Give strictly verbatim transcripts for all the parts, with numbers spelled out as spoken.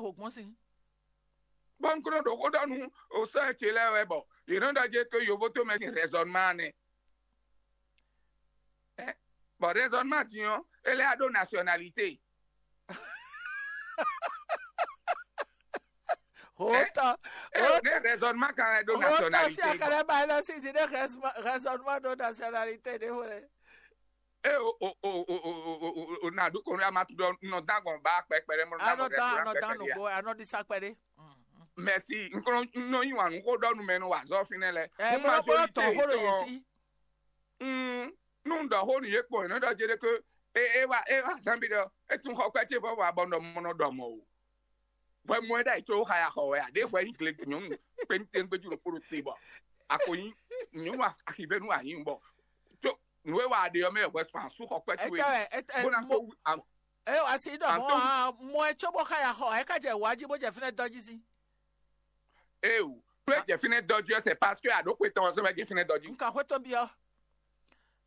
xo gbɔn sín. Bɔ un kúnɔ ɖo xó ɖɔ nú osɔ́ ce lɛ́ɛ wɛ bɔ yě nɔ ɖɔ jɛ tó yovo tó mɛ sín raisonnement nɛ. Ɛ, bɔ raisonnement din ɔ́, é lɛ́ ɖó nationalité. Hota, ɛ, ne raisonnement kan lɛ́ ɖó hota nationalité. Fia kɛlɛ ba ɛlɔ si di ne raisonnement ɖó nationalité ɖé wɛ. E o o o o o o o o na ɖu kɔnɔ ama tu ɖɔ nɔ dan gbɔn ba kpɛkpɛ ɖe mɔ na gbɔn ɖe na kpɛkpɛ ɖe. Anɔ ɖi sakpɛ ɖe. Mɛsi, nkɔnɔ nɔ yi wàn nú xó ɖɔ nu mɛ nɔ wà zɔ fínɛ́ lɛ. Ɛ mo ma bɔ tɔn xó ɖo yě sí. Mm, nú un ɖɔ xó nú yě kpɔn, yě nɔ ɖɔ jɛ ɖe ké e e wa e wa zan bi ɖɔ e tún xɔ kpɛ ce vɔ wa bɔ nɔ mɔ nɔ ɖɔ mɔ o. Hwɛ mɔ ɛ ɖ'ayǐ có xaya xɔ wɛ a? Ɖě hwɛ nyí gle nyɔ̌nu kpéntɛ́n gbéjú ɖokpó ɖo te bɔ a ko nyí nyɔ̌nu axivɛ́nu a nyǐ bɔ tó nǔ e wa a ɖe ɔ́ mɛ hwɛ sɔn asú xɔ kpɛ́ towe. Bó ná kó wú am- Eye wá sí ɖɔ mɔ a mɔ ɛ có bó xaya xɔ ɛ ká jɛ wǎ jí bó jɛ fínɛ́ dɔ́ jí sí. Eo, tó e jɛ fínɛ́ dɔ́ jí ɔ́, c'est parce que àɖókwe tɔn ɔ́ sɔ́ wɛ jɛ fínɛ́ dɔ́ jí. Un ka xwé tɔn byɔ́.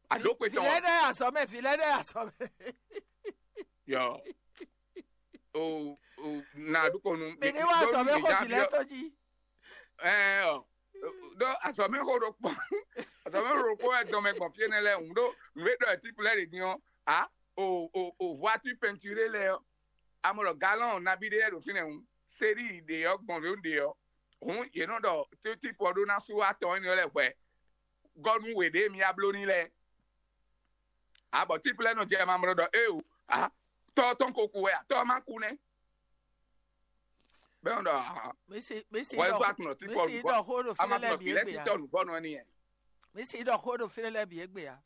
Àɖókwe tɔn ɔ́. Vǐ lɛ́ɛ ɖɛ́ azɔ̌ mɛ, vǐ lɛ́ɛ ɖɛ́ azɔ̌ mɛ. Yɔ. O o na ɖu kɔnu. Mi ní wá azɔ̌ mɛ xó vǐ lɛ́ɛ tɔn jí. Ɛɛ ɔ ɖó azɔ̌ mɛ xó ɖokpó azɔ̌ mɛ xó ɖokpó wɛ dɔn mɛ gbɔn fí énɛ́ lɛ́ɛ hǔn ɖó nǔ e ɖɔ ɛ típu lɛ́ɛ ɖě dín ɔ́, a o o o voiture peinturé lɛ́ɛ ɔ́, amɔ ɖɔ galɔn nabí ɖé lɛ́ɛ ɖo fínɛ́ hǔn séɖí ɖě ɔ́ gbɔn ló ɖě ɔ́, hǔn yě nɔ ɖɔ típu ɔ́ ɖó ná sú atɔn énɛ́ lɛ́ɛ hwɛ gɔ́ nú wě ɖě mi wá bló n'i lɛ́ɛ. A bɔ típlɛ́ nɔ jɛ mamlɔ ɖɔ éeǒ, a tɔ́ tɔn ko ku wɛ a tɔ́ ma ku nɛ́. Bɛn ɖɔ a Misi misi wɔ ɛzɔ ɖɔ atunɔ tí misi pɔlu bɔ ɖɔ xó ɖo a ma fínɛ́ lɛ́ɛ tunɔ bǐ kì lɛ égbé si a. Tɔ nǔvɔ nɔ ni yɛ. Misi ɖɔ xó ɖo fínɛ́ lɛ́ɛ bǐ égbé a.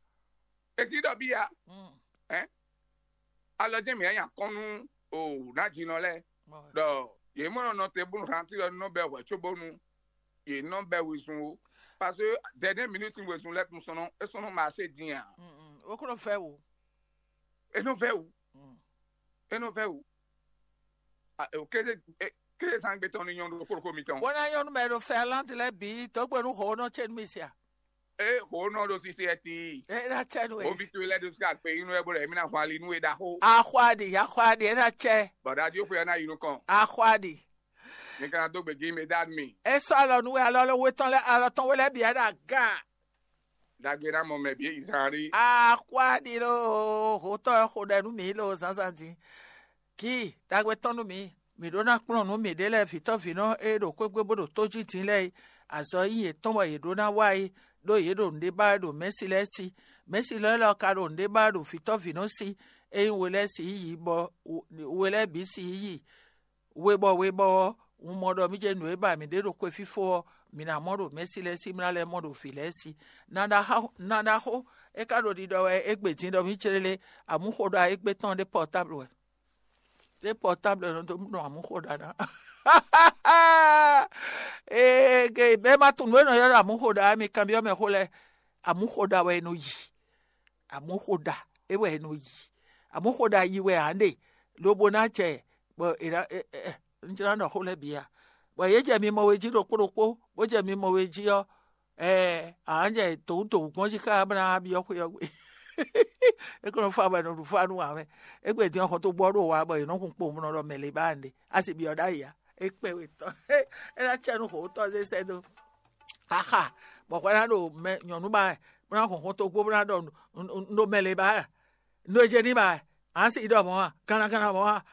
Esi ɖɔ bí ya. Mm. Ɛ alɔ jẹ́ mi anya kɔn nú o ná jinɔ lɛ Mɔ ɖɔ yě mɔ nɔ nɔ te bónú hantí ɖɔ nɔ bɛ hwɛ cóbónú yě nɔ bɛ wezun o. Parce que dernière minute sin wezun lɛ tun sɔnɔ e sɔnɔ ma se din a. Mm, mm. Ó kúrò fẹ́ wò. E nɔ vɛ wu. Mm. E nɔ vɛ wu. A, e, kéde e, kéde zangbe tɔn ni nyɔnu ɖo kókó mitɔn. Wọ́n ná nyɔnu mɛ ɖo Finlande lɛ bǐ dɔgbe nú hɔn nɔ cɛ nú mi sia. E hɔn nɔ ɖo sisi ɛti. E na cɛ nú Wo e. Bi tu lɛ ɖo sika gbe inú ɛ bolo emi na hɔn ali nú e ɖaxó. Axɔaɖi, axɔaɖi, e na cɛ. Bɔ̀dájú ó pe ɔ́ ná yi nukɔn. Axɔaɖi. Mi ka ná dó gbe gí mi dá mi. E sɔ́ alɔ nú we alɔ lɔ we tɔn lɛ alɔ tɔn we lɛ bǐ ɛ ɖo aga. Dagbe ná mɔ mɛ bǐ Izraɛli. Axɔaɖi lo, hotɔ ɛ xo ɖɛ nú mi lo zǎnzǎn din. Kí dagbe tɔn nú mi. Mǐ ɖó ná kplɔ́n nǔ mǐɖée lɛ́ɛ vǐtɔ́vǐnɔ e ɖo xwé gbe bó ɖo tó jí din lɛ́ɛ é. Azɔ̌ nyí yětɔn wɛ yě ɖó ná wa é, ɖó yě ɖo nǔɖé ba wɛ ɖo mɛ̌si lɛ́ɛ sí. Mɛ̌si lɛ́ɛ lɔ ka ɖo nǔɖé ba wɛ ɖo vǐtɔ́vǐnɔ sí, ényí we lɛ́ɛ sixú yi bɔ we lɛ́ɛ bǐ sixú yi. We bɔ we bɔ ɔ́, un mɔ ɖɔ mí jɛ nǔ e ba mǐ ɖe ɖo xwefífó ɔ́, mǐ ná mɔ ɖo mɛ̌si lɛ́ɛ sí, mí ná lɛ́ mɔ ɖo vǐ lɛ́ɛ sí. Ná ɖaxó, ná ɖaxó, é ka ɖo ɖiɖɔ wɛ égbé din ɖɔ mí clélé, amǔxoɖa égbé tɔn ɖé pɔtáblu wɛ. Ɖé pɔtáblu nɔ dó nɔ amǔxoɖa ná. Ee, ge bɛ́ ma tunwun nǔ e nɔ ylɔ́ ɖɔ amǔxoɖa mi kanbyɔ́ mɛ xó lɛ́ɛ. Amǔxoɖa wɛ è nɔ yi. Amǔxoɖa é wɛ è nɔ yi. Amǔxoɖa yi wɛ ǎ ɖe, lobo ná jɛ bɔ è ná ɛ- ɛ- ɛ- un jlá ɖɔ xó lɛ́ɛ bǐ a? Bɔ yě jɛ mi mɔ we jí ɖokpó ɖokpó, bó jɛ mi mɔ we jí ɔ́, ɛɛ, ǎ jɛ dǒwúdǒwú gbɔn jí ká bó ná byɔ́ xwé ɔ́ gbe. É kó nɔ fá bɔ è nɔ ɖu fá nú ǎ mɛ. Égbé din ɔ́, xɔ́ntɔ́gbɔ ɖo wa bɔ yě nɔ hun kpowun bó nɔ ɖɔ mɛ lě ba ǎ ɖe. A sì byɔ́ ɖ'ayǐ ǎ. É kpɛ́ we tɔn. É ná cɛ nú hǒtɔ́ zé sɛ́ dó. Xaxa, bɔ hwɛ ná ɖo mɛ nyɔ̌nu ba wɛ, bó ná hun xɔ́ntɔ́gbó bó ná ɖɔ un ɖo mɛ lě ba wɛ. Nú e jɛ ní ba wɛ, a sì ɖɔ mɔ̌ a, kanna kanna mɔ̌ a.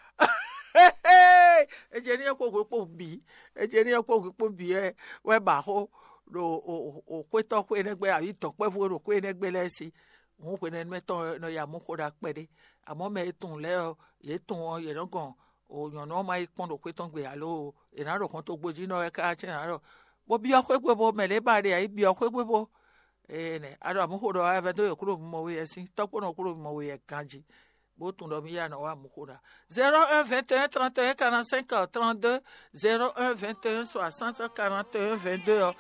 E jɛ ní kpó hwe kpó bǐ, e jɛ ní kpó hwe kpó bǐ wɛ wɛ ba xó ɖo xwétɔ́ xwé nɛ́ gbé, abǐ dɔ̌nkpɛ́vú e ɖo xwé nɛ́ gbé lɛ́ɛ sí. Hǔn hwenɛ́nu mɛ tɔn nɔ ya mɔ xó ɖa kpɛɖé. Amɔ̌ mɛ e tunwun lɛ́ɛ ɔ́, yě tunwun ɔ́, yě nɔ gɔn nyɔ̌nu ɔ́ ma yi kpɔ́n ɖo xwé tɔn gbe alo è nǎ ɖo hɔn togbo jí nɔ wɛ ká cɛ́ nǎ ɖɔ bó byɔ́ xwé gbe bó mɛ lě ba ɖe ǎ yi byɔ́ xwé gbe bó. Ene, alors mǔ xo ɖɔ wɛ vɛ́ dó yě kúɖo mimɔ we yɛ sín, tɔ́ kpó nɔ kúɖo mimɔ we yɛ ganjí, bó tunwun ɖɔ mí yá nɔ wá mǔ xo ɖa. Zéro un vingt et un trente et un quarante-cinq trente-deux, zéro un vingt et un soixante quarante et un vingt-deux ɔ́.